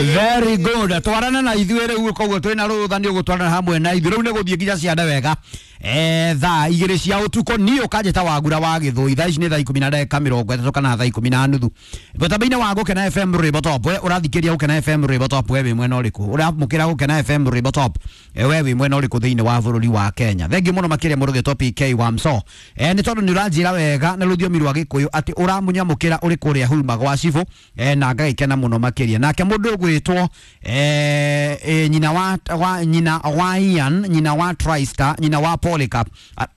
Very good. Twarana na ithuĩ rĩu, koguo twĩna rũtha nĩ ũgũtwarana hamwe na ithuĩ rĩu nĩ gũthiĩ nginya ciande wega. Thaa 2 cia ũtukũ niĩ ũkanjĩta Wagura wa Gĩthũi. Thaa ici nĩ thaa 10 na ndagĩka 30 kana thaa 10 na nuthu. Mũtambo-inĩ wa Gũkena FM Rwĩmbo Top. We ũrathikĩria Gũkena FM Rwĩmbo Top, we wĩ mwena ũrĩkũ? Ũramũkĩra Gũkena FM Rwĩmbo Top, we wĩ mwena ũrĩkũ thĩinĩ wa bũrũri wa Kenya? Thengiũ mũno makĩria mũndũ ũgĩtwo PK wa Mso. Nĩ tondũ nĩ ũranjĩra wega na rũthiomi rwa Gĩkũyũ atĩ ũramũnyamũkĩra ũrĩ kũrĩa Huruma gwa Cibũ, na ngagĩkena mũno makĩria. Nake mũndũ ũgwĩtwo nyina wa Ian, nyina wa Tristar, nyina wa Polycarp,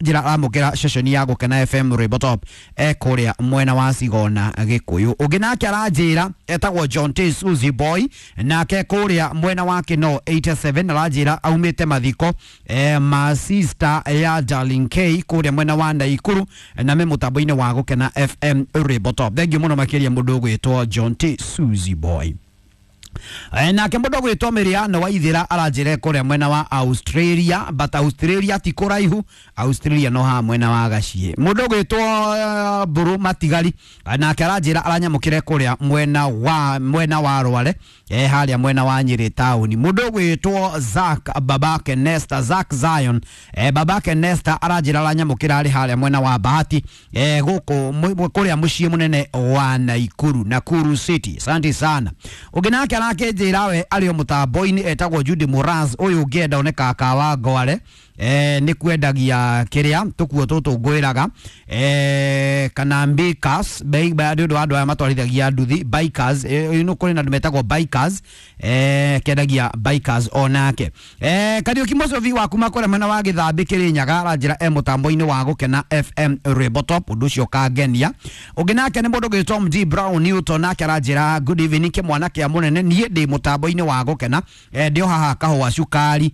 njĩra aramũkĩra ceceni ya Gũkena FM Rwĩmbo Top kũrĩa mwena wa Cigona Gĩkũyũ. Ũngĩ nake aranjĩra etagwo John T Suzy Boy, nake kũrĩa mwena wa Kino 87 aranjĩra aumĩte mathiko ma sister ya Darling K kũrĩa mwena wa Naikuru, na me mũtambo-inĩ wa Gũkena FM Rwĩmbo Top. Thengiũ mũno makĩria mũndũ ũgwĩtwo John T Suzy Boy. Nake mũndũ ũgwĩtwo Miriano Waithĩra aranjĩra kũrĩa mwena wa Australia, but Australia ti kũraihu, Australia no haha mwena wa Gaciĩ. Mũndũ ũgwĩtwo Mbũrũ Matigari, nake aranjĩra aranyamũkĩre kũrĩa mwena wa Rware, harĩa mwena wa Nyĩrĩ taũni. Mũndũ ũgwĩtwo Zack babake Nesta, Zack Zion, babake Nesta aranjĩra aranyamũkĩra arĩ harĩa mwena wa Bahati, gũkũ kũrĩa mũciĩ mũnene wa Naikuru, Nakuru City. Asante sana. Ũngĩ nake arakĩnjĩra we arĩ o mũtambo-inĩ etagwo Judy Moraz, ũyũ ũngĩenda one kaka wa Ngware, nĩ kwendagia kĩrĩa tũkuo tũtũ ngwĩraga, kana bikers nĩ ũndũ wa andũ aya matwarithagia nduthi bikers, nĩ kũrĩ na andũ metagwo bikers, kendagia bikers onake. Kariũki Mũcobi wa kuma kũrĩa mwena wa Gĩthambĩ Kĩrĩnyaga aranjĩra e mũtambo-inĩ wa Gũkena FM Rwĩmbo Top, ũndũ ũcio ũkangenia. Ũngĩ nake nĩ mũndũ ũgwĩtwo MD Brown Newton, nake aranjĩra good evening kĩmwana kĩa mũnene, niĩ ndĩ mũtambo-inĩ wa Gũkena, ndĩ o haha kahũa cukari,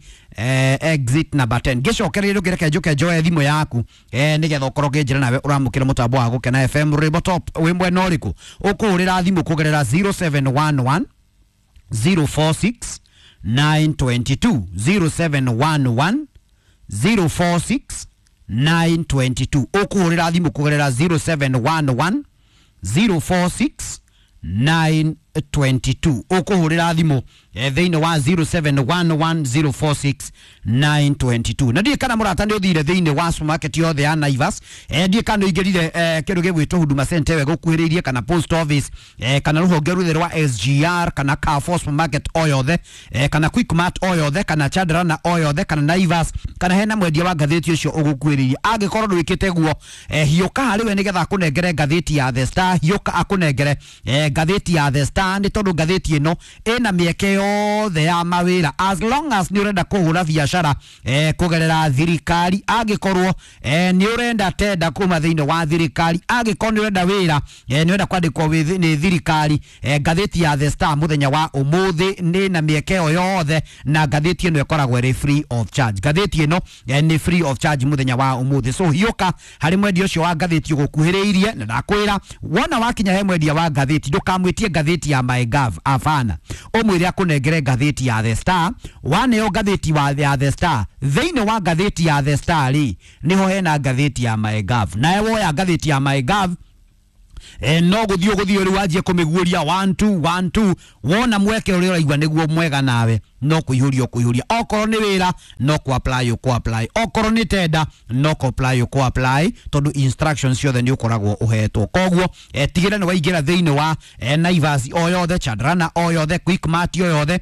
exit number 10. Ngĩcokereria ndũkĩreke njũke njoe thimũ yaku, nĩgetha ũkorwo ũkĩnjĩra nawe ũramũkĩra mũtambo wa Gũkena FM Rwĩmbo Top wĩ mwena ũrĩkũ. Ũkũhũrĩra thimũ kũgerera 0711 046 922, 0711 046 922. Ũkũhũrĩra thimũ kũgerera 0711 046 922. Ũkũhũrĩra thimũ thĩinĩ wa 0711046922. Na ndiĩ kana mũrata nĩ ũthire thĩinĩ wa supermarket yothe ya Naivas, ndiĩ kana ũingĩrire kĩndũ gĩgwĩtwo Huduma Center we gũkuhĩrĩirie, kana post office, kana rũhonge rwothe rwa SGR, kana Carrefour supermarket o yothe, kana Quickmart o yothe, kana Chandarana o yothe, kana Naivas, kana hena mwendia wa ngathĩti ũcio ũgũkuhĩrĩirie. Angĩkorwo ndwĩkĩte guo, hiũka harĩ we nĩgetha akũnengere ngathĩti ya The Star. Hiũka akũnengere ngathĩti ya The Star, nĩ tondũ ngathĩti ĩno ĩna mĩeke yothe ya mawĩra as long as nĩ ũrenda kũhũra biacara kũgerera thirikari, angĩkorwo nĩ ũrenda tenda kuma thĩinĩ wa thirikari, angĩkorwo nĩ ũrenda wĩra, nĩ ũrenda kwandĩkwo nĩ thirikari, ngathĩti ya The Star mũthenya wa ũmũthĩ nĩ na mĩeke ĩyo yothe, na ngathĩti ĩno ĩkoragwo ĩrĩ free of charge. Ngathĩti ĩno nĩ free of charge mũthenya wa ũmũthĩ. So hiũka harĩ mwendia ũcio wa ngathĩti ũgũkuhĩrĩirie, na ndakwĩra wona wakinya he mwendia wa ngathĩti ndũkamwĩtie ngathĩti ya MyGov, abana, ũmwĩre akũnengere ngathĩti ya The Star. Waneo ngathĩti ya The Star, thĩinĩ wa ngathĩti ya The Star rĩ, nĩho hena ngathĩti ya MyGov. Nawe woya ngathĩti ya MyGov, no gũthiĩ ũgũthiĩ rĩu wanjie kũmĩguũria 1 2 1 2. Wona mweke ũrĩa ũraigua nĩguo mwega nawe, no kũihũria ũkũihũria. Okorwo nĩ wĩra, no kũ apply ũkũ apply. Okorwo nĩ tenda, no kũ apply ũkũ apply, tondũ instructions ciothe nĩ ũkoragwo ũhetwo. Koguo tigĩrĩra nĩ waingĩra thĩinĩ wa Naivas o yothe, Chandarana o yothe, Quickmart o yothe,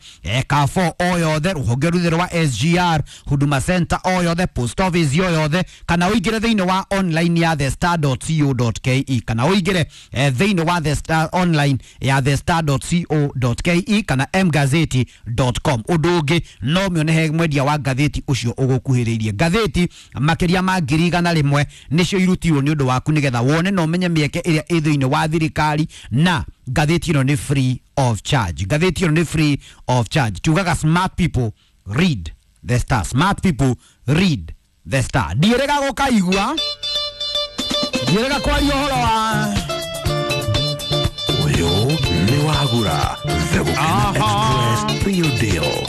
Carrefour o yothe, rũhonge rwothe rwa SGR, Huduma Center o yothe, post office o yothe, kana ũingĩre thĩinĩ wa online ya thestar.co.ke, kana ũingĩre thĩinĩ wa The Star online ya thestar.co.ke kana mgazeti.com. Ũndũ ũngĩ no mĩone he mwendia wa ngathĩti ũcio ũgũkuhĩrĩirie. Ngathĩti makĩria ma 100,000 nĩcio irutirwo nĩ ũndũ waku nĩgetha wone na ũmenye mĩeke ĩrĩa ĩ thĩinĩ wa thirikari, na ngathĩti ĩno nĩ free of charge. Ngathĩti ĩno nĩ free of charge. Tugaga smart people read The Star, smart people read The Star. Ndiĩrĩga gũkaigua, ndiĩrĩga kwaria ũhoro wa Ũyũ nĩ Wagura The Gũkena Express Real Deal.